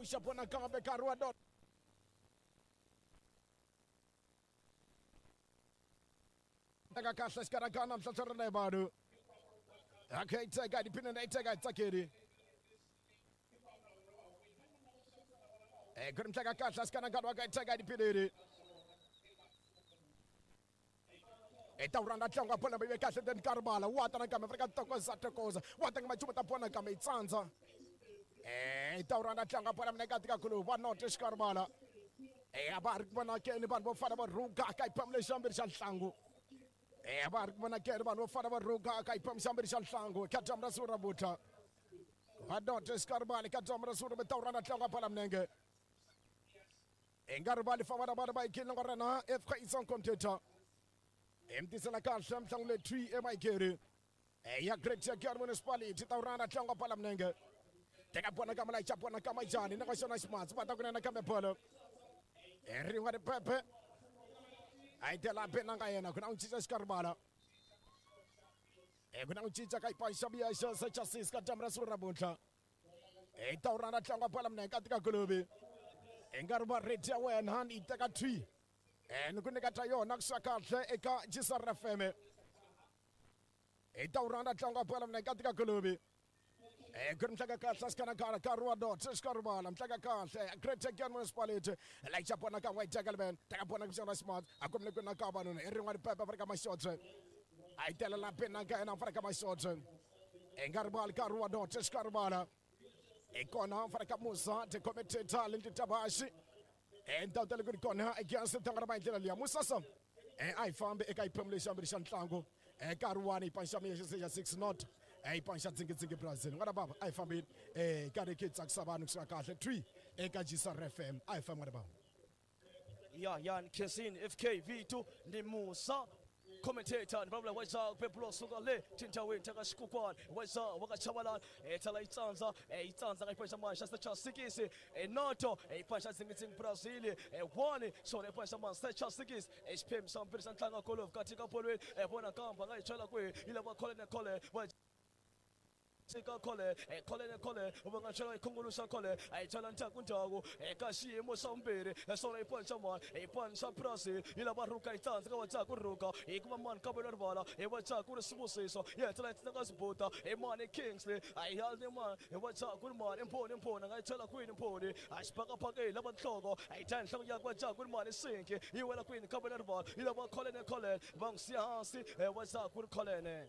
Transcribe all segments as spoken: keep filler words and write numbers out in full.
pfuxa bona kambe nkarhi wa dot teka kahle xikarhakana mhlanhla ra vanhu okay teka dipina na teka tsakeri eh ku ri mhlaka kahle xikarhakana wa ka teka dipineri eta uranda tlanga bona be kahle den karbala wa ta nakambe Afrika tokoza tokoza wa ta ngama ta bona kambe itsandza eh eta uranda tlanga bona mne ka tika khulu wa not xikarbala eh aba ri bona ke ni vanhu vo fana va rhuga ka iphamule xambiri xa nhlangu eh aba ri bona ke ni vanhu vo fana va rhuga ka iphamule xambiri xa nhlangu ka dyambu ra siku ra vutha wa not xikarbala ka dyambu ra siku ra ta uranda tlanga bona mnenge e nga rivali fa vana vana va ikile nga rena F K Isong computer emtisela kahle mhlangu le three emayigeri ya Great Giyani Municipality ta urana tlanga pala mnenge teka bona kama la chapona kama jani na kwashona ximatsi va ta kunena kambe bolo rin'wa ripepe a yi tela bena nga yena ku na ku cinca xikaribala e ku na ku cinca ka ipaxa biya xa xa chassis ka dyambu ra siku ra namuntlha e ta urana tlanga pala mnenge ka tika golovi e nga ri va ready ya wena ni teka three eh ni ku nyika ta yona ku swa kahle eka G S R F M e ta urana tlanga pala mnenge ka tika golovi eh ku ri mhlaka kahle xikanakana nkarhi wa dot xikaribala mhlaka kahle Great Giyani Municipality la chapona ka white gentleman teka bona ku xona smart a kumle ku na ka vanhu i rin'wana pepe Afrika Mashotse a yi tela la pena ka yena Afrika Mashotse e nga rivali nkarhi wa dot xikaribala e kona Afrika Musa the commentator Lindy Tabashi e ndhawu ta le ku ri kona against tlanga ra va hi ndlela liya Musasa e a yi fambi eka xiphemu lexi xambirhi xa ntlangu e nkarhi wani yi panxa miya xa six not e panxa dzingidzingi Brazil n'wana baba a yi fambile e karhi ki tsakisa vanhu kusuka kahle three eka G S R F M a yi fambi n'wana baba ya ya Nkensini F K V two ni Musa commentator ni vulavula wa pepulo suka le tindhawini ta ka xikukwana wa wa ka Chabalala e thala yi tsandza e yi tsandza ka xipaxa manxa xa sikisi e noto e paxa dzingidzingi Brazil e one xona paxa manxa xa sikisi e xiphemu xa mbirhi xa ntlangu golf ka tika polweni e vona kamba nga yi chela kwihi yi lava khole ne khole wa Tika khole e khole ne khole va nga chela ikhunguluxa khole a yi chela ndzhaku ndzhaku eka xiyimo xa vumbirhi naswona yi panxa mani yi panxa Brazil yi lava rhuka yi tsandza ka wa dzaku rhuka hikuva mani kambelo rivala hi wa dzaku ri sibusiso yi hetelela yi tsinaka sibuta hi mani Kingsley a yi hali ni mani hi wa dzaku ri mani mphoni mphoni a nga yi chela kwini mphoni a xibakabakeni lava nhloko a yi dya nhloko ya wa dzaku ri mani sinki yi wela kwini kambelo rivala yi lava khole ne khole va n'wi siya hansi wa dzaku ri kholene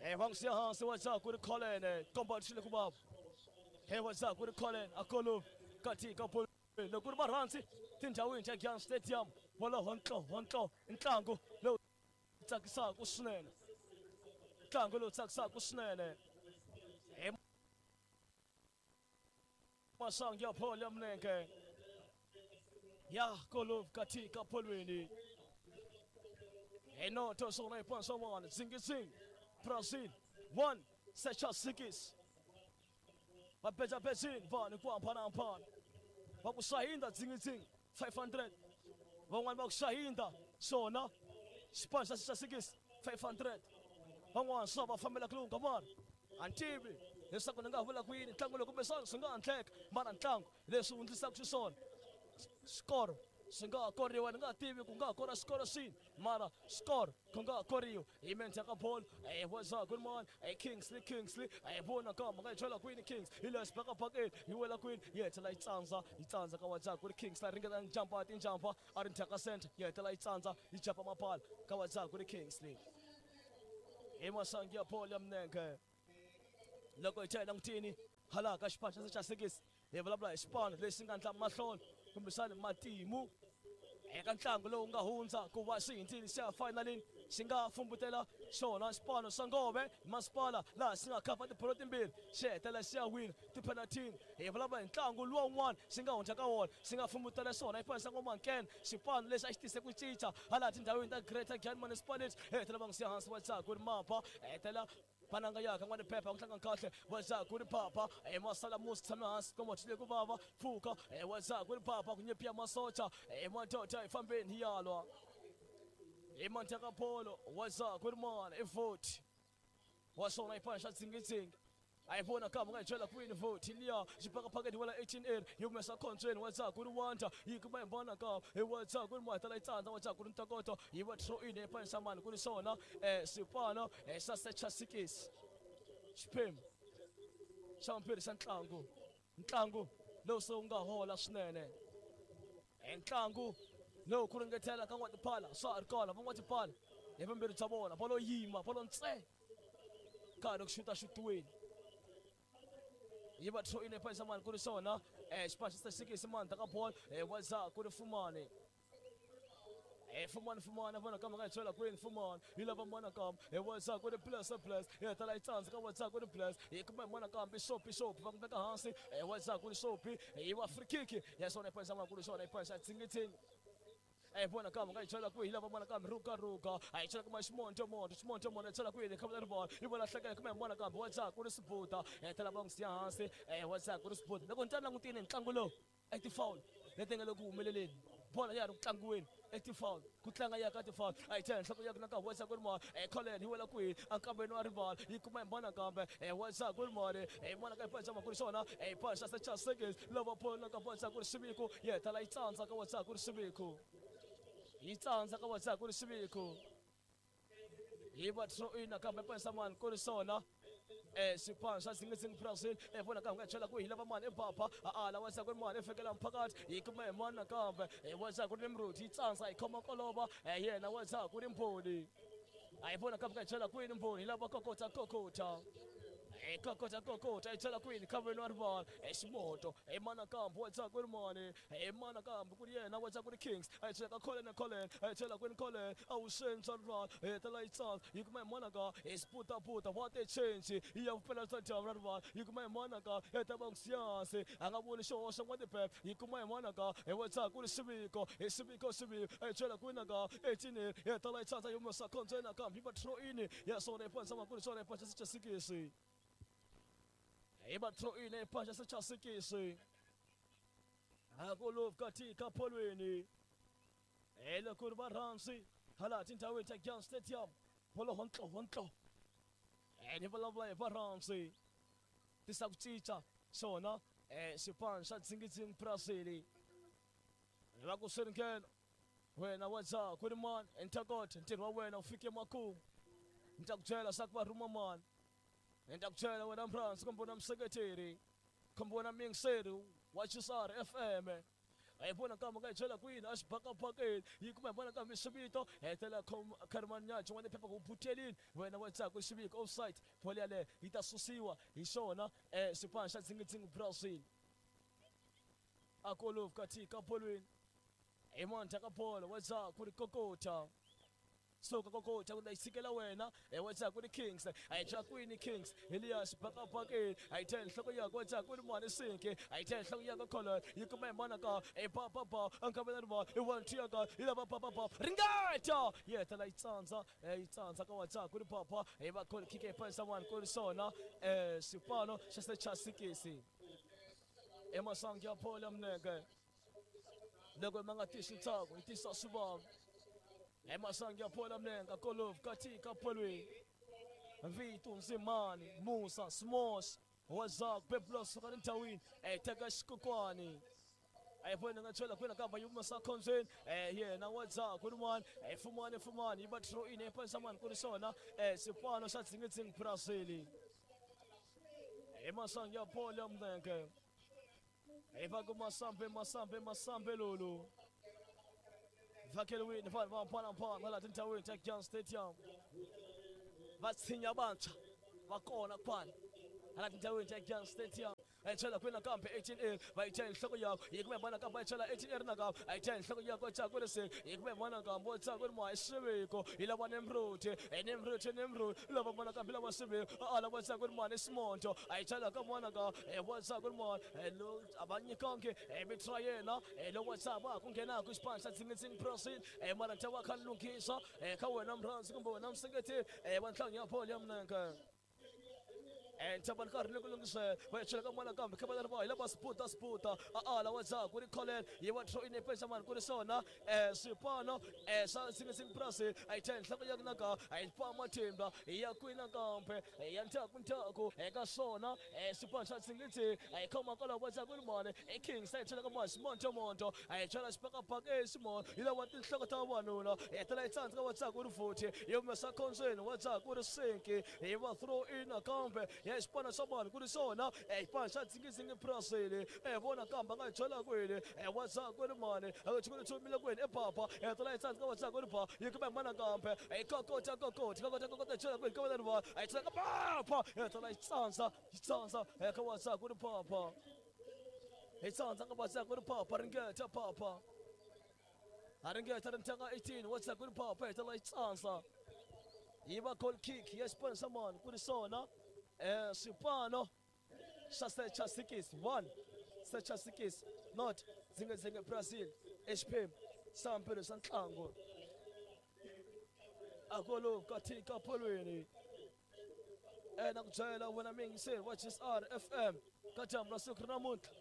Eh va n'wi siya hansi wa dzaku ri kholene komba xile ku vava he wa dzaku ri kholene a kolovi katika polo loko ri varhandzi tindhawini ta Giyani Stadium wolowo ntlo ntlo ntlangu lowu tsakisaka swinene ntlangu lowu tsakisaka swinene hi masangu ya bolo ya milenge ya kolovi katika polweni hi noto swona yi pansa one dzingidzingi Brazil one secha sikis va bezini vanhu ku hambanahambana va ku sahinda dzingidzingi five hundred van'wani va ku sahinda swona xipano xa xa sikisi five hundred van'wana swa va fambela ku lunga mara a ni tivi leswaku ni nga vula ku yini ntlangu lowu kumbexana swi nga endleka mara ntlangu leswi wu endlisaka xiswona xikoro swi nga koriwa ni nga tivi ku nga kora xikoro xini mara xikoro ku nga koriwa hi mendzha ka bolo e wa good man e Kingsley Kingsley e vona kamba nga yi chela kwini Kings hi le xibakabakeni yi wela kwini yi hetelela yi tsandza yi tsandza ka wa ku ri Kingsley ringeta njampa tinjampa a ri ndzhaka center yi hetelela yi tsandza yi jumpa mapala ka wa ku ri Kingsley hi masangu ya bolo ya milenge loko hi chela langutini hala ka xipano xa sikisi hi vulavula hi xipano lexi nga ndla mahlolo kumbexana matimu eka ntlangu lowu nga hundza ku va xi hindzile xi ya finalini xi nga fumbutela xona xipano xa Ngove masipala laha xi nga khapa tibolo timbirhi xi hetelela xi ya wina tiphenatini hi vulavula hi ntlangu luwa wun'wana xi nga hundza ka wona xi nga fumbutela xona xipano xa Ngoma-Nkene xipano lexi a xi tise ku cinca hala tindhawini ta Greater Giyani Municipality hetelela va n'wi siya hansi wa dzaku ri mapa hetelela pananga yaka n'wana phepha ku tlanga kahle wa dzaku ri papa e masala musi tshame hansi komba xile ku vava pfuka e wa dzaku ri papa ku nyepiya masocha e madoda hi fambeni hi yalwa hi manthaka polo wa dzaku ri mani i voti wa swona xipano xa dzingidzingi Ayibona kama ngayitshela kwini vote liya xibhakabhakeni wala eighteen L yi humesa khontsweni wa ku ri wanda yi kuma hi mbona ka hi wa ku ri mata la tsandza wa ku ri ntokoto yi va throw in epanisa mani ku ri swona eh swipano eh sa secha sikisi xiphemu xa vumbirhi xa ntlangu ntlangu lowu se wu nga hola swinene ntlangu lowu ku ringetela ka n'watipala swa ha ri kona van'watipala hi vumbirhi bya vona va lo yima va lo ntse karhi ku xuta xutiweni yi va throw in epanisa mani ku ri swona eh xipano xa sikisi mani ta ka bolo eh wa ku ri fumani eh fumani fumani vona kama nga chela kwini fumani yi lava mona kam eh wa ku ri plus plus eh tala yi tsandza ka wa ku ri plus yi kuma mona kam bisopi sopi va ku veka hansi eh wa ku ri sopi yi wa free kick ya swona epanisa mani ku ri swona epanisa tsingi eh bona kama nga chela kwihi lava mona kambe ruka ruka a yi chela kuma ximonto monto ximonto monto chela kwihi kha va ball yi vona hlekela kuma mona kambe wa ku ri sibuta eh tala va n'wi siya hansi eh wa ku ri sibuta loko ni ta langutile ntlangu lowu i ti-foul leti nga le ku humeleleni bola ya ri ku tlangiweni i ti-foul ku tlanga ya ka ti-foul a yi chela nhloko ya na ka wa ku ri mali eh Colin yi wela kwihi ankambeni wa rivala yi kuma hi mona kambe eh wa ku ri mali eh mona ka yi paxa ku ri swona eh paxa se cha seconds lava bola ka wa ku ri xiviko yi tala yi tsandza ka wa ku ri xiviko yi tsandza ka wa ku ri xiviko yi va throw in nakambe panisa mani ku ri swona eh xipano xa Zingizingi Brazil eh vona ka nga chela ku hi lava mani ebapa a ala wa ku ri mani fikela mphakathi yi kuma hi mani nakambe eh wa ku ri Nimrod yi tsandza yi khoma kolova eh yena wa ku ri Mbhoni a yi vona kambe nga chela kwini Mbhoni yi lava kokota kokota eh kokota kokota yi chela kwini khaveni wa rivala eh ximoto eh mana kambe wa ku ri mani eh mana kambe ku ri yena wa ku ri Kings a yi chela ka Colin Colin a yi chela kwini Colin a wu xenxa rivala eh tala yi tsandza yi kuma hi mana ka eh sputa puta what a change yi ya vupela bya dyambu ra rivala yi kuma hi mana ka eh ta va siyansi a nga voni xihoxo n'wa tipep yi kuma hi mana ka eh wa ku ri xiviko eh xiviko xiviko a yi chela kwini ka eighteen eh tala yi tsandza yi humesa khontsweni nakambe yi va throw in ya swona epanisa mani ku ri swona epanisa xa sikisi yi va throw in epanisa xa sikisi akolovu katika polweni eloko ri va rhansi hala tindhawini ta Gyan Stadium bolo hontlo hontlo eh ni vulavula hi va rhansi tisa ku cinca swona eh xipano xa Zingizingi Brazil va ku swi ringena wena wa ku ri mani ntokoto ntirho wa wena wu fike makumu ni ta ku byela swa ku va rhuma mani ni ta ku byela wena mrhansi kumbe wena museketeri kumbe wena muyingiseri wa Chisara F M a yi vona kama nga yi chela kwini a xibakabakeni yi kuma hi vona kambe xivito hetela kharimani nyaji n'wana phepha ku butelini wena wa ku xiviko offside bolo yaleyo yi ta susiwa hi xona eh xipano xa Zingizingi Brazil akolovu katika bolweni hi mandla ka bolo wa ku ri kokota suka kokota ku yi wena eh wa ku ri Kings a yi chela kwini Kings Elias xibakabakeni a yi thela nhloko yakwe wa ku ri mani sinki a yi thela nhloko yakwe Colin yi kuma hi mana ka e ba ba ba ankavela rivala i one two yaka yi lava ba ba ba ringeta yi hetela yi tsandza yi tsandza ka wa ku ri papa yi va goal kick epanisa mani ku ri swona eh xipano xa se cha sikisi emasangu ya bolo ya minenge loko ma nga tisi ntsako yi tisa swivavi emasangu ya bolo ya minenge kolovu katika polweni Vito Nzimani Musa Smos Wazak Beblos suka ndhawini eh teka xikokwani a yi vona nga chela kwini kamba yi humesa khonzweni eh yena wa ku ri mani eh fumani fumani yi va throw in epanisa mani ku ri swona eh xipano xa Zingizingi Brazil emasangu ya bolo ya minenge hi va ku masambe masambe masambe lolu vhakeliwini vanhu va hambanahambana laha tindhawini ta Gyan Stadium va tshinya vantshwa va kona kwala hala tindhawini ta Gyan Stadium a yi chela kwini nakambe eighteen L va yi chela nhloko yakwe yi kuma hi vona kambe va yi chela eighteen L nakambe a yi chela nhloko yakwe wa ku ri se yi kuma hi vona kambe wa ku ri ma hi xiviko yi lava Nimrod eh Nimrod Nimrod lava vona kambe lava xiviko a lava ku ri mani ximonto a yi chela ka mona ka eh wa ku ri mani eh lo a va nyikangi eh mitra yena eh lo wa va ku nghenaka xipano xa Zingizingi Brazil eh mara nta wa kha lunghisa eh ka wena mrhansi kumbe wena museketeri eh wa ntlangu ya bolo ya minenge Ntaba nkarhi ni ku lungisela va yi chela ka mwana kambe kha va ri va hi lava sputa sputa a ala wa dzaku ri kholela yi va throw in epesa mani ku ri swona swipano swa Zingizingi Brazil a yi thya nhloko ya naka a yi pa matimba ya kwina kambe ya ndzhaku ndzhaku eka swona swipano swa Zingizingi a yi khoma kwalaho wa dzaku ri mani i Kings a yi chela ka mani Ximonto Monto a yi chela xibakabaka eximona yi lava tinhloko ta vavanuna yi hetelela yi tsandzeka wa dzaku ri futhi yi humesa khondzweni wa dzaku ri sinki yi va throw in nakambe ya xipano xa mani ku ri swona xipano xa Zingizingi Brazil e vona kambe a nga yi chela kwini wa dzaku ri mani a ku chumile kwini e papa hetelela yi tsandzeka wa dzaku ri ba yi kuma mana kambe yi kokota kokota kokota kokota chela kwini ka va a yi chela ka papa hetelela yi tsandza yi tsandza eka wa dzaku ri papa yi tsandza ka wa dzaku ri papa ringeta papa a ringeta ri ntanga eighteen wa dzaku ri papa hetelela yi tsandza yi va goal kick ya xipano xa mani ku ri swona swipano xa Secha Sikis one Secha Sikis not Zingizingi Brazil xiphemu xa mpilo xa ntlangu a ku katika polweni na ku byela wena miyingiseri wa G S R F M ka dyambu ra siku ra namuntlha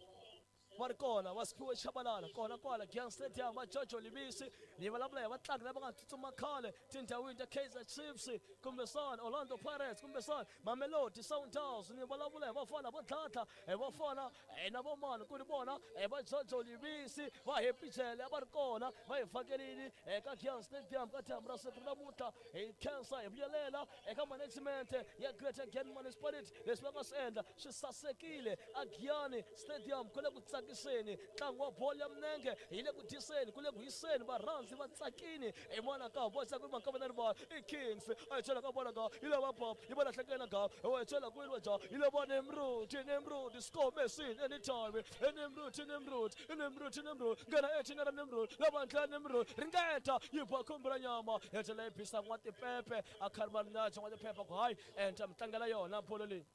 va ri kona va Siphiwe Tshabalala kona kwala Giyani Stadium va Jojo Libisi ni vulavula hi vatlangi lava nga tsutsuma khale tindhawini ta Kaizer Chiefs kumbexana Orlando Pirates kumbexana Mamelodi Sundowns ni vulavula hi vafana vo dladla hi vafana na vomani ku ri vona va Jojo Libisi va Happy Jele va ri kona va hi fakelini eka Giyani Stadium ka dyambu ra siku namuntlha hi khensa hi vuyelela eka management ya Greater Giyani Municipality leswi va nga swi endla swi sasekile a Giyani Stadium ku le ku tsakiseni ntlangu wa bolo ya milenge hi le ku dyiseni ku le ku hiseni varhandzi va tsakini hi mona ka vo tsaka ma ka na rivala i Kings a yi chela ka vona ka yi lava pop yi vona hlekela ka wa yi chela kwini wa ja yi lava Nimrod Nimrod score Messi anytime Nimrod Nimrod Nimrod Nimrod ngena eighteen ra Nimrod lava ndla Nimrod ringeta yi ba khumbula nyama ya chela yi phisa n'wa tipepe a kharima na n'wa tipepe ku hayi enta mi tlangela yona bolo leyi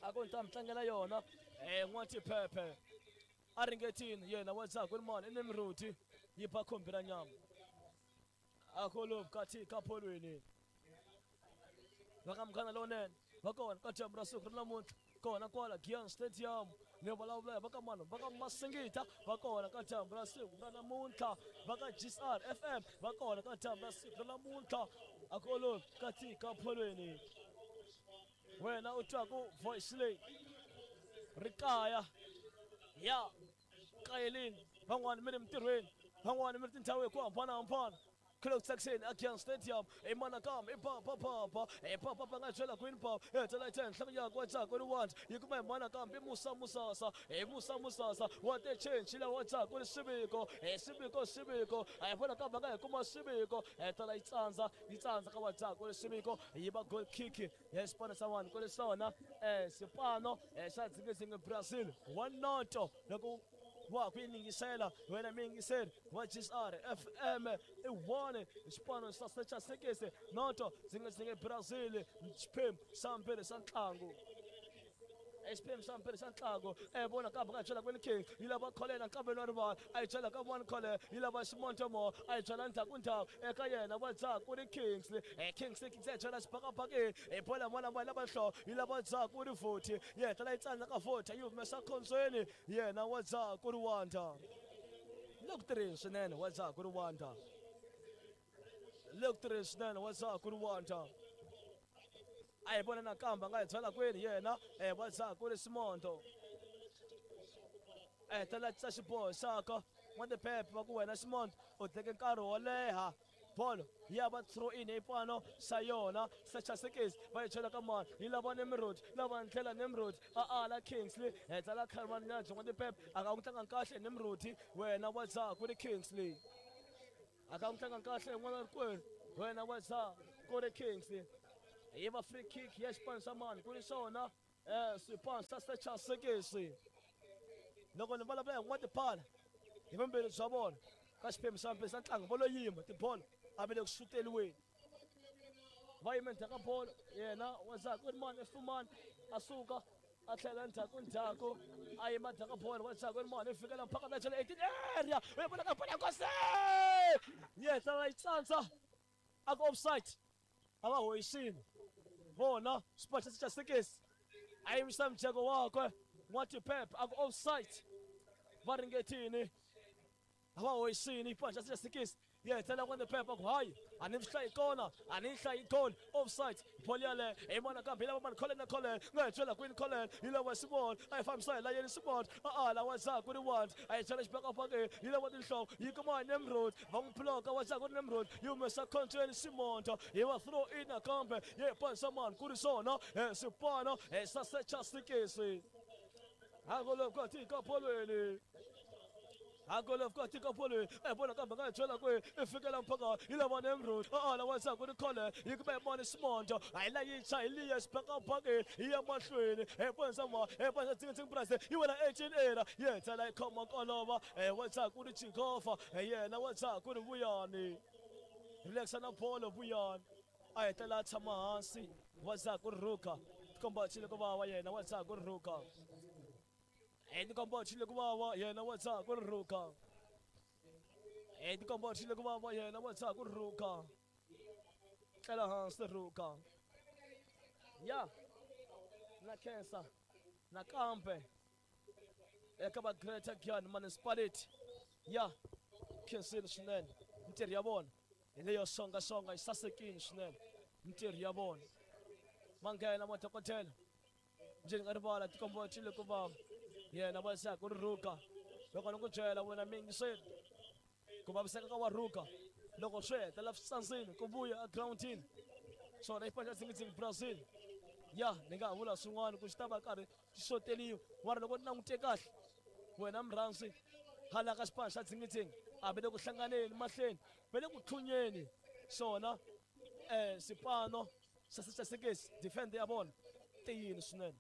a ku ta mi tlangela yona n'wa tipepe a ringetini yena wa dzaku ri mani i Nimrod yi ba khumbi ra nyama a ku katika polweni va ka Munghana Lonene va kona ka dyambu ra siku ra namuntlha kona kwala Giyani Stadium ni vulavula va ka mani va ka Masingita va kona ka dyambu ra siku ra namuntlha va ka G S R F M va kona ka dyambu ra siku ra namuntlha a ku olovi katika polweni wena u twaku voice leyi ri kaya ya kayelini van'wani mi ri mintirhweni van'wani mi ri tindhawu hi ku hambanahambana ku le ku tsakiseni a Giyani Stadium i mana kambe i papa papa i papa pa nga byela kwini papa hetelela yi thya nhloko yakwe wa dzaku ri wandla yi kuma hi mana kambe i Musa Musasa i Musa Musasa wa te change la wa dzaku ri Siviko i Siviko Siviko a hi vona kambe a nga hi kuma Siviko hetelela yi tsandza yi tsandza ka wa dzaku ri Siviko yi va goal kick ya xipano xa vanhu ku ri swona xipano xa Zingizingi Brazil one noto loko wa ku yingisela wena miyingiseri wa G S R F M i one xipano xa Secha Sekese noto Zingizingi Brazil xiphemu xa mbirhi xa ntlangu xiphemu xa mbirhi xa ntlangu e vona kambe nga byela kwini King yi lava kholela nkambeni wa rivala a yi byela ka one khole yi lava Ximontomo a yi byela ndzhaku ndzhaku eka yena wa dzaku ri Kings e Kings Kings ya byela xibakabakeni e bola mwana mwana lava nhloko yi lava dzaku ri futhi yi hetelela yi tsandza ka futhi yi humesa khondzweni yena wa dzaku ri wanda le ku tirheni swinene wa dzaku ri wanda le ku tirheni swinene wa dzaku ri wanda a hi vona nakambe a nga hi byela kwini yena wa dzaku ri Ximonto a hetelela tisa xiboho xaka n'watiphephe va ku wena Ximonto u teke nkarhi wo leha bolo ya va throw in xipano xa yona Secha Sekisi va yi chela ka mani yi lava Nimrod lava ndlela Nimrod a ala Kingsley hetelela kharima nyadzo n'watiphephe a nga n'wi tlanga kahle Nimrod wena wa dzaku ri Kingsley a nga n'wi tlanga kahle n'wana rikwenu wena wa dzaku ri Kingsley yi va free kick ya xipano xa mani ku ri swona swipano xa Secha Sekisi loko ni vulavula hi n'watipala hi vumbirhi bya vona ka xiphemu xa mbirhi xa ntlangu vo lo yima tibolo a va le ku xuteriweni va yime ndzhaku ka bolo yena wa dzaku ri mani i Fumani a suka a tlhela ndzhaku ndzhaku a yima ndzhaku ka bolo wa dzaku ri mani i fikela mphaka ta chela eighteen area u ya vona ka bolo ya Nkosi yi hetelela yi tsandza a ku offside a va hoyisini Vona xipano xa Chasekisi a yimisa mujeko wakwe N'watiphepha a ku offside va ringetini a va hoyisini xipano xa Chasekisi yi hetelela N'watiphepha ku hayi a ni swi hlayi kona a ni hlayi goal offside bolo yaleyo hi mona kambe yi lava mani Colin na Colin nga hi byela kwini Colin yi lava Simon a yi fambisa hi layeni Simon a a lawa ndzhaku ri one a yi byela xibakabakeni yi lava tinhloko yi kuma Nemrod va n'wi bloka wa ndzhaku ri Nemrod yi humesa khontsweni Simonto yi va throw in nakambe yi pansa mani ku ri swona swipano sasechasikisi hakolokatika bolweni hakolokatika bolweni ebona kambe nga hi byela kwihi i fikela mpaka yi lava Nemrod a lawa ndzhaku ri Colin yi kuma hi mani Simonto a yi la yi cha hi liya xibakabakeni yi ya mahlweni eponsa ma eponsa tsingi Brazil yi wela eighteen era yi hetelela yi khoma kolova wa ndzhaku ri Chikofa yena wa ndzhaku ri Vuyani relaxa na bolo Vuyani a hetelela a tshama hansi wa ndzhaku ri Ruka tikomba chile ku vava yena wa ndzhaku ri Ruka tikomba chile ku vava yena wa ndzhaku ri Ruka tikomba chile ku vava yena wa ndzhaku ri Ruka tlela hansi Ruka ya na khensa nakambe eka va Greater Giyani Municipality ya khensile swinene mintirho ya vona hi leyo songasonga yi sasekile swinene mintirho ya vona va nghena madokodela njhani nga rivala tikomba chile ku vava yena va ndzhaku ri Ruka loko ni ku byela wena miyingiseli ku vaviseka ka wa Ruka loko swi hetelela swi tsandzile ku vuya egirawundini swona i xipano xa Tsingi Brazil ya ni nga ha vula swin'wana ku xi ta va karhi xi xoteriwa mara loko ni langute kahle wena murhandzi hala ka xipano xa Tsingi a va le ku hlanganeni mahlweni va le ku tlhunyeni swona um xipano xa Chasekisi defender ya vona tiyini swinene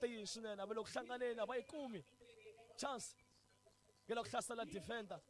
tiyini swinene a va le ku hlanganeni a va yi kumi chance ya la ku hlasela defender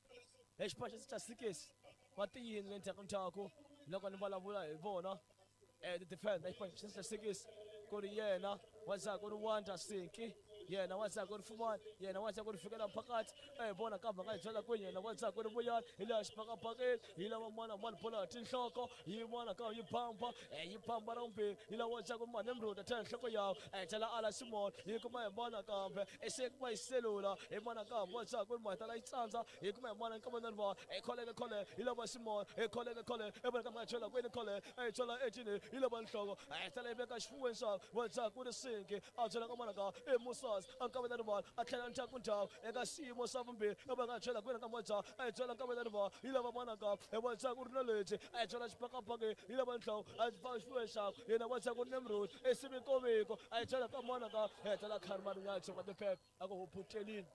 hi xipano xa Chasekisi va tiyini le ndzhaku ndzhaku loko ni vulavula hi vona um ti-defender xipano xa Chasekisi ku ri yena wa ndzhaku ri Wanda Sinki yena wa ndzhaku ri Fumani yena wa ndzhaku ri fikela phakathi e vona kambe nga hi byela kwini yena wa ndzhaku ri Vuyani hi laha xibakabakeni yi lava mwana mani bolo ya tinhloko yi vona ka yi bamba yi bamba ra vumbirhi yi lava ndzhaku mani Nemrod a thela nhloko yawo a tlhela ala Simon yi kuma hi mona kambe se kuma hi selula hi mona kambe wa ndzhaku ri mahetela yi tsandza yi kuma hi mona nkama na rivala e kholeke khole yi lava Simon e kholeke khole e vona kambe nga byela kwini khole e byela ejini yi lava nhloko a tlhela yi veka xifuweni xa wa ndzhaku ri Sinki a byela ka mona ka e Musa a nkava na rivala a tlhela ndzhaku ndzhaku eka xiyimo xa vumbirhi va nga byela kwini ka moja a byela nkava na rivala yi lava mona ka e wa ndzhaku ri na leti a byela xibakabakeni yi lava nhloko a fa xifuweni xakwe yena wa ndzhaku ri Nemrod e sivikoviko a byela ka mona ka hetela kharmani wa tiphepha a ku huputelini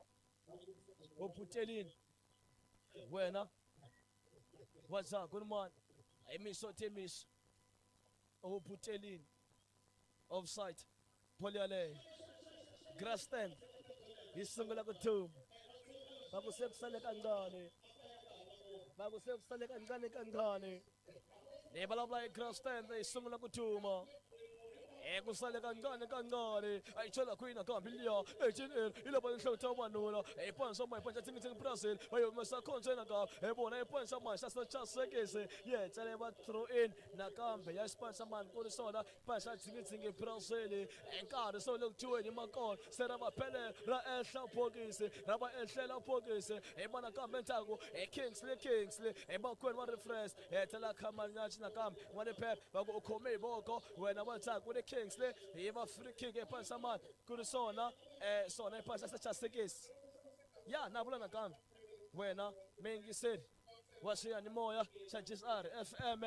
huputelini wena wa ndzhaku ri mani imiso temiso huputelini offside bolo yaleyo Grassstand yi sungula ku thuma va ku se ku sale kancane va ku se ku sale kancane kancane ni vulavula hi Grassstand yi sungula ku thuma e ku sale kancane kancane a yi chela kwini nakambe liya eighteen yi lava nhloko ta vavanuna hi pansa ma hi pansa Tsingi Brazil va yi humesa khontsweni nakambe hi vona hi pansa mani xa Chasekisi yi hetelela va throw in nakambe ya xipano mani ku ri swona pansa Tsingi Brazil nkarhi so le ku dyiweni makona se ra va pele ra ehla bokisi ra va ehlela bokisi hi vona kambe ndzhaku hi Kingsley Kingsley hi makwenu wa refresh hetelela Khamanyachi nakambe wa Phepha va ku u khome hi voko wena wa ndzhaku ri Kingsley hi va free kick epansa mani ku ri swona um swona epansa xa Chasekisi ya na vula nakambe wena miyingiseri wa xiyanimoya xa G S R F M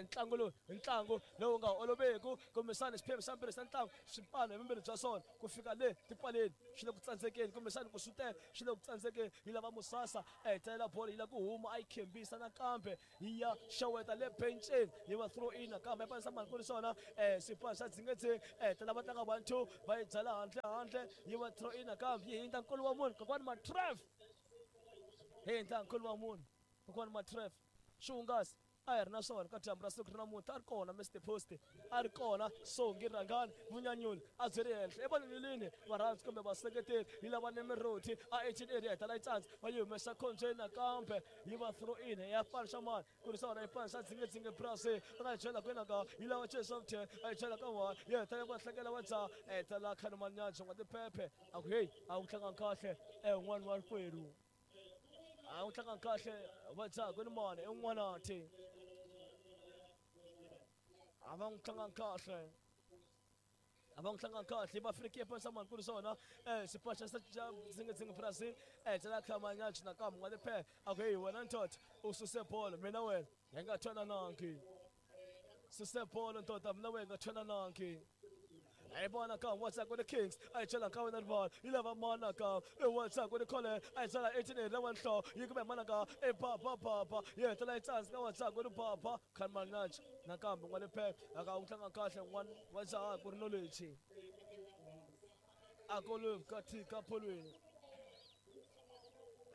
ntlangu lowu ntlangu lowu nga oloveki kumbexana xiphemu xa mbirhi xa ntlangu swipano hi vumbirhi bya swona ku fika le tipaleni swi le ku tsandzekeni kumbexana ku xutela swi le ku tsandzekeni yi lava Musasa a hetelela bolo yi lava ku huma a yi khembisa nakambe yi ya xeweta le benceni yi va throw in nakambe epanisa mani ku ri swona um xipano xa Dzingedzing a hetelela va tlanga one two va yi byala handle handle yi va throw in nakambe yi hindza nkulu wa munhu kokwani Matref hi hindza nkulu wa munhu kokwani Matref xi hungasi a hi ri na swona ka dyambu ra siku ri namuntlha a ri kona Mister Post a ri kona Songi Rhangani Vunyanyuli a byi ri henhla evanenilini varhandzi kumbe vaseketeri yi lava Nemiroti a eighteen area heta la yi tsandza va yi humesa khombyeni nakambe yi va throw in ya panisha mani ku ri swona yi panisha dzinge Brazil a nga yi chela kwini ka yi lava Jason ten a yi chela ka one yi heta ya va hlekela wa dza heta la khani manyanjo nga tiphephe a ku heyi a wu tlanga kahle e un'wana wa rikwerhu a wu tlanga kahle va dza ku ni mani i n'wanati a va n'wi tlanga kahle a va n'wi tlanga kahle va free kick ya mani ku ri swona eh xipaxa xa dzinge Brazil eh tsela khamanyachi nakambe nga tiphephe a ku heyi wena ntoto u suse bolo mina wena hi nga twananangi suse bolo ntoto mina wena hi nga twananangi I bona ka what's up with the Kings I chela ka wena rival yi lava mana ka e what's up with the Colin I chela eighteen la one hlo yi kume mana ka e ba ba ba ba ye tela chance ka what's up with the baba kan manaj nakambe ngwa lephe aka u tlanga kahle one what's up ku ri knowledge akolo katika polweni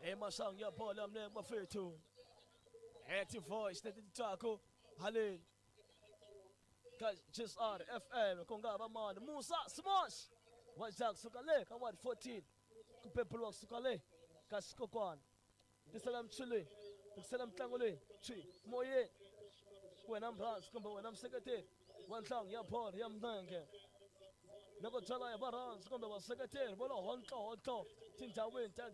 e masang ya bola mne mafethu active voice letitako haleni G S R F M ku nga va mani Musa Smash wa Jack suka le ka ward fourteen ku pepulwa kusuka le ka xikokwana tisela mchuli tisela mtlango leyi chi moyeni wena mrhandzi kumbe wena mseketeri wa ntlangu ya bolo ya milenge loko byala ya varhandzi kumbe vaseketeri va lo hontlohotlo tindhawini ta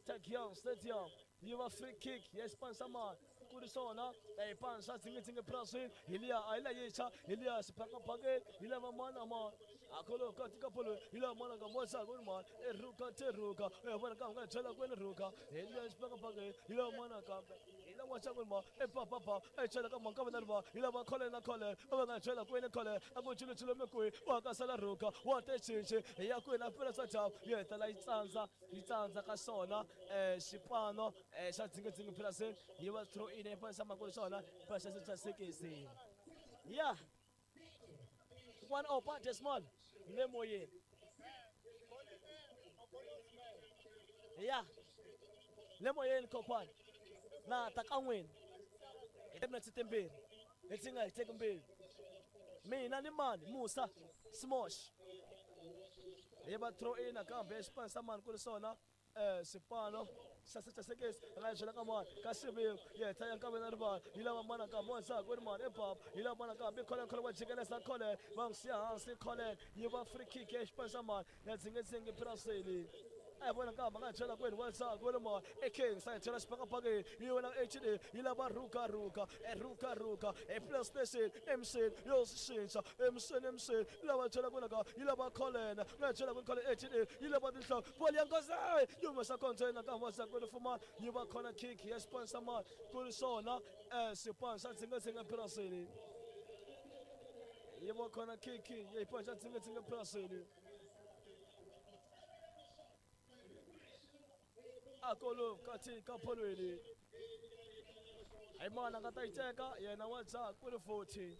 ta Giyani Stadium yi va free kick ya xipano mani ku ri swona xipano xa dzinge Brazil hi liya a yi la yintshwa hi liya xibakabakeni yi lava mani mani akolo katika polo yi lava mana ka mosa ku ri mani eruka teruka e vona ka nga byela kwini ruka hi liya xibakabakeni yi lava mana kambe hi la waxa ku ri mani e pa pa pa e chela ka mani ka vona ri yi lava khole na khole va nga byela kwini khole a ku chilo chilo mikwi wa ka sala ruka wa te chinchi hi ya kwini a pfula swa dyambu yi hetela yi tsandza yi tsandza ka swona um xipano xa dzinge Brazil yi va throw in e panisa makulu swona paxa xa sekisi ya one opa decimal le moyeni ya le moyeni kokwana na ta ka n'wini hi timinetse timbirhi leti nga hi teki mbirhi mina ni mani Musa Smosh hi va throw in nakambe xipano xa mani ku ri swona um xipano xa xa sekisi a nga byela ka mani ka xiviko yi heta ya nkaveni rivala yi lava mana ka mosa ku ri mani ebaba yi lava mana kambe khole khole wa jikeleza khole va n'wi siya hansi khole yi va free kick ya xipano xa mani ya dzinge Brazil a hi vona kambe a nga byela kwini wa ku ri mani e Kings a hi byela xibakabakeni yi wena H D yi lava ruka ruka e ruka ruka e PlayStation M C yo swi cinca M C M C yi lava byela kwini ka yi lava kholena nga byela kwini khole H D yi lava tinhloko bolo ya nkosi yi humesa container ka wa ku ri fuma yi va corner kick ya xipano xa mani ku ri swona um xipano xa dzinge Brazil yi va corner kick ya xipano xa dzinge Brazil akolo katika polweni hayi mana nga ta yi teka yena wa dza ku ri forty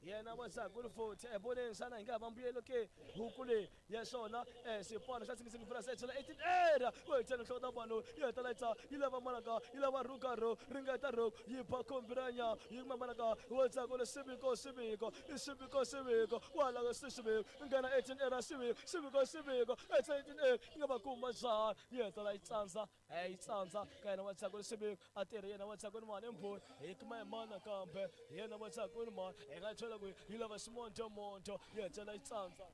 yena wa dza ku ri forty e voneni xana hi nga va mbuyelo ke huku leyi ya xona um xipano xa dzinge Brazil chela eighteen era ku hi chela nhloko ta vanhu yi heta la yi tsa yi lava manaka yi lava ruka ro ringeta ro yi ba khombiranya yi kuma manaka wa dza ku ri siviko siviko i siviko siviko wa la ka siviko nghena eighteen era siviko siviko siviko eighteen era yi nga va kuma njhani yi heta la yi tsandza yi tsandza ka yena wa dza ku ri siviko a tirhi yena wa dza ku ri mani mbhoni hi kuma hi mana kambe yena wa dza ku ri mani hi nga chela ku yi lava ximontomonto yi heta la yi tsandza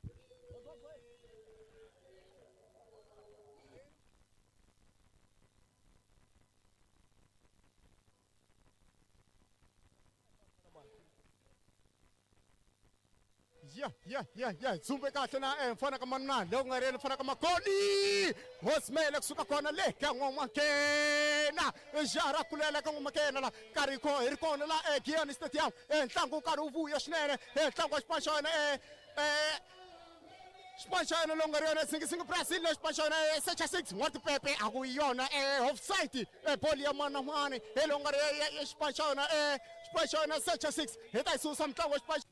Ya ya ya ya dzumbe kahle na eh mfana ka manana loko nga ri yena mfana ka makoli hosimele kusuka kona le ka n'wamakena jara kulela ka n'wamakena la karhi ko hi ri kona la eh Giyani Stadium eh ntlangu wu karhi wu vuya swinene eh ntlangu wa xipano xa wena eh eh xipano xa yena lowu nga ri yona Dzinge Brazil na xipano xa yona Secha six n'wa tipepe a ku yona eh offside eh bolo ya mani na mani hi lowu nga ri xipano xa yona eh xipano xa yona Secha six hi ta yi susa mutlangu wa xipano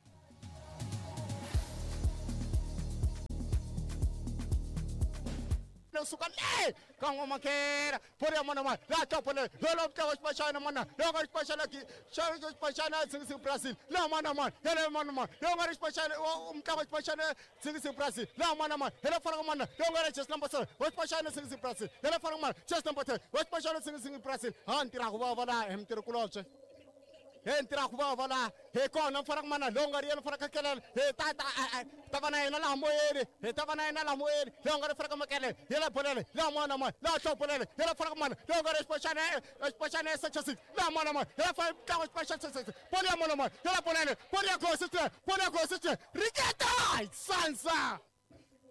play kusuka le ka N'wamakera bolo ya mana mani laha top le lolo mutlangi wa xipano xa yena mana loyi nga ri xipano xa yena xa xipano xa yena Zingizingi Brazil laha mana mani yena mana mani loyi nga ri xipano xa mutlangi wa xipano xa yena Zingizingi Brazil laha mana mani yena fana ka mana loyi nga ri jersey number seven wa xipano xa yena Zingizingi Brazil yena fana ka mana jersey number ten wa xipano xa yena Zingizingi Brazil ha ntirha ku vava laha hi mitirhikulobye he ntirha ku vava laha hi kona mfana ka mana loyi nga ri yena mfana ka kelela hi ta ta ta va na yena laha moyeni hi ta va na yena laha moyeni loyi nga ri fana ka makelele yela bolele laha mwana mani laha hlobolele yela fana ka mana loyi nga ri xipano xa xipano xa yena section six laha mwana mani yela fana ntlangu xipano xa section six bolo ya mwana mani yela bolele bolo ya gosi bolo ya gosi ringeta hi sansa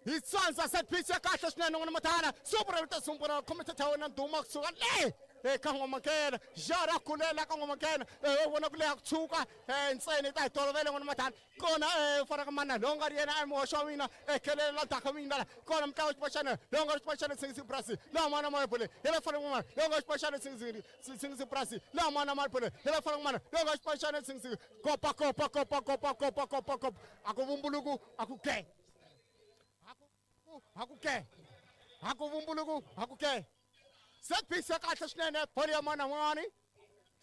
hi sansa set piece ya kahle swinene n'wana mathala super ta sumbura commentator wena nduma kusuka le eka N'wamakela jara kulela ka N'wamakela u vona ku leha ku tshuka ntsena ta hi tolovele n'wana mathala kona fana ka mana loyi nga ri yena muhoxi wa mina khelela daka mina la kona mutlangi wa xipano xa yena loyi nga ri xipano xa yena Zingizingi Brazil laha mana mani bole yena fana ka mana loyi nga xipano xa yena Zingizingi Zingizingi Brazil laha mana mani bole yena fana ka mana loyi nga xipano xa yena Zingizingi kopa kopa kopa kopa kopa kopa kopa a ku vumbuluku a ku ke a ku ke a ku vumbuluku a ku ke set piece ya kahle swinene bolo ya mana mani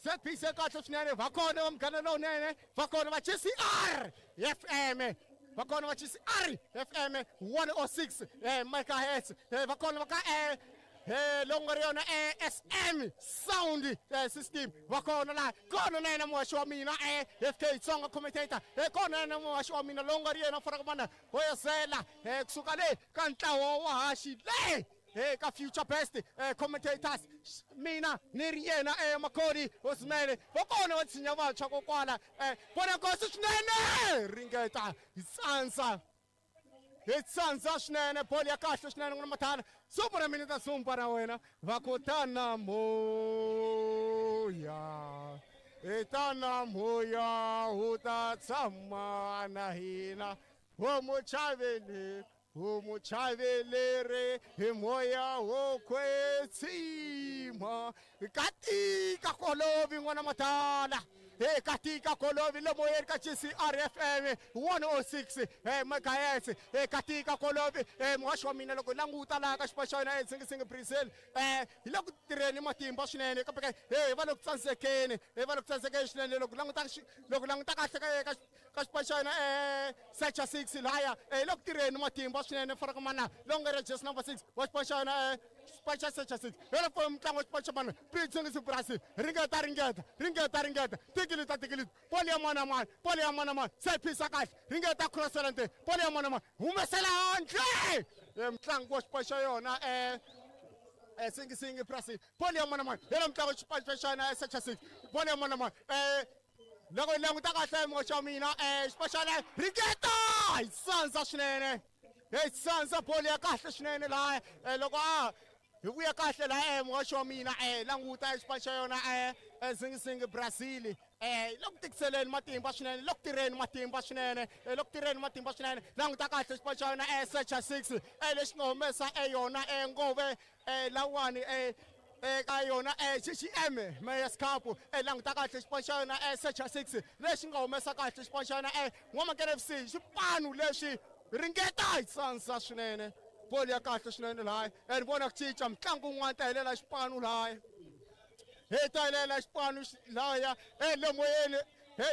set piece ya kahle swinene va kona va munghana lowunene va kona va G C R F M va kona va G C R F M one oh six megahertz va kona va ka lowu nga ri yona S M sound system va kona laha kona na yena muhaxi wa mina F K Tsonga commentator kona na yena muhaxi wa mina lowu nga ri yena fana ka mana hoyozela kusuka le ka ntlawa wa haxi le hey ka future best eh, commentators mina ni ri yena eh, Makhodi Osimele va kona va tshinya vantshwa kokwala eh, vona nkosi swinene ringeta hi tsandza hi tsandza swinene bolo ya kahle swinene n'wana mathala sumbura mina ta sumba na wena va ku tana moya hi tana moya wu ta tshama na hina wo muchaveli wo muchaveleri hi moya wo kwetsima katika kolovi n'wana mathala he katika kolovi le moyeni ka G C R F M one oh six megahertz he katika kolovi muhaxi wa mina loko hi languta laha ka xipano xa yena Zingizingi Brazil hi le ku tirheni matimba swinene kambe he va le ku tsandzekeni he va le ku tsandzekeni swinene loko languta loko languta kahle ka ka xipano xa yena secha six lahaya hi le ku tirheni matimba swinene fana ka mana lowu nga ri jersey number six wa xipano xa yena xipano xa secha six hi le mutlangi wa xipano xa mana Zingizingi Brazil ringeta ringeta ringeta ringeta tikilita tikilita bolo ya mana mani bolo ya mana mani set piece ya kahle ringeta crossela nte bolo ya mana mani humesela handle mutlangi wa xipano xa yona Zingizingi Brazil bolo ya mana mani yena mutlangi wa xipano xa yona secha six bolo ya mana mani loko hi languta kahle muhaxi wa mina xipano xa yena ringeta hi sandza swinene hi sandza bolo ya kahle swinene laha loko a hi vuya kahle laha muhaxi wa mina languta xipano xa yona Zingizingi Brazil loko tikiseleni matimba swinene loko tirheni matimba swinene loko tirheni matimba swinene languta kahle xipano xa yona secha six lexi nga humesa yona ngove lawani ka yona G G M Mayor's Cup languta kahle xipano xa yona secha six lexi nga humesa kahle xipano xa yona N'wamakela F C xipano lexi ringeta hi tsandza swinene bolo ya kahle swinene laha ni vona ku cinca mutlangi wun'wana ta helela xipano laha hi ta helela xipano lahaya le moyeni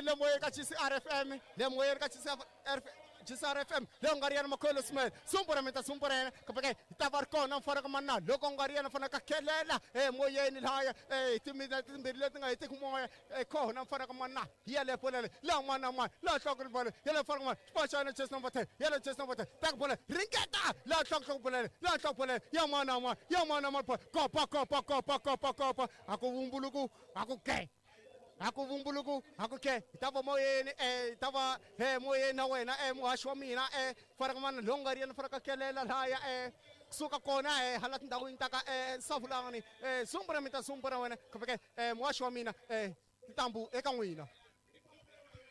le moyeni ka G C R F M le moyeni ka G C R F G C R F M leyi nga ri yena Makholo Smith sumbura mi ta sumbura yena kambe ke hi ta va ri kona mfana ka manana loko nga ri yena fana ka khelela emoyeni lahaya timina timbirhi leti nga hetiki moya kona mfana ka manana hi yaleyo bolo leyi laha n'wana na n'wana laha nhloko bolo yaleyo mfana ka manana xipano xa yena jersey number ten yaleyo jersey number ten teka bolo ringeta laha nhloko nhloko bolo laha nhloko bolo ya n'wana na n'wana ya n'wana na n'wana kopa kopa kopa kopa kopa a ku vumbuluku a ku ke a ku vumbuluku a ku ke hi ta va moyeni hi ta va moyeni na wena muhaxi wa mina fana ka mana lowu nga ri yena fana ka kelela lahaya kusuka kona hala tindhawini ta ka Savulani sumbura mi ta sumbura wena kumbe ke muhaxi wa mina tintambu eka n'wina.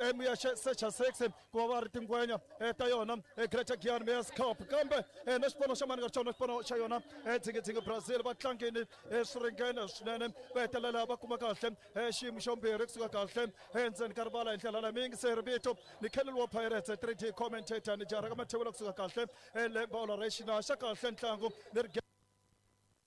Muyexe Secha six ku va va ri tingwenya ta yona Greater Giyani Mayor's Cup kambe na xipano xa mani nga xona xipano xa yona Dzingidzingi Brazil va tlangini swi ringene swinene va hetelela va kuma kahle xiyimo xo mbirhi kusuka kahle endzeni ka rivala hi ndlela leyi miyingiseri vito ni Kennel wa Pirates three D commentator ni jara ka mathewula kusuka kahle le bolo ra xina xa kahle ntlangu leri